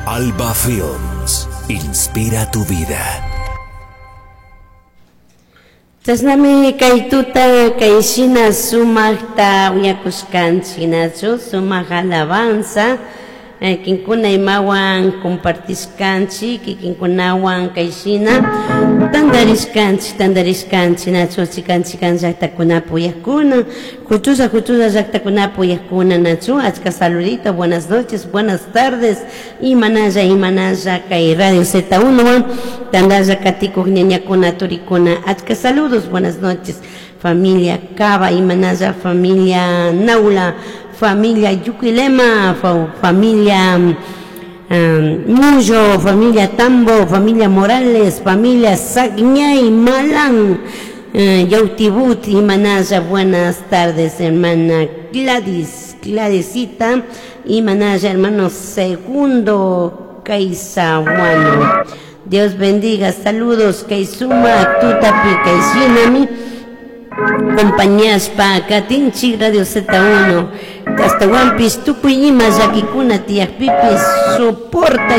Alba Films. Inspira tu vida. Chashnami kay tuta kay shina sumaqta uyakushkanchik nachu sumaq alabanza kinkuna imawan compartishkanchik kikinkunawan kay shina tantarishkanchik tantarishkanchik nachu chikan chikan llaqtakunapi uyakuna huchulla huchulla llaqtakunapi uyakuna nachu achka saludito. Buenas noches, buenas tardes, imanalla imanalla kay Radio Z1 tantalla katikuq ñañakuna turikuna, achka saludos, buenas noches, familia Cava, imanalla familia Naula, familia Yuquilema, familia Mullo, familia Tambo, familia Morales, familia Sagñay, Malán, Yautibut, imanalla, buenas tardes, hermana Gladys, Gladysita, imanalla, hermano Segundo Kaisahuano. Dios bendiga, saludos, Kaisuma, Tutapi, Kaishinami, compañías pa katinchik Radio Z1 hasta Wampis tukuy ima llakikuna tiyakpipis soporta.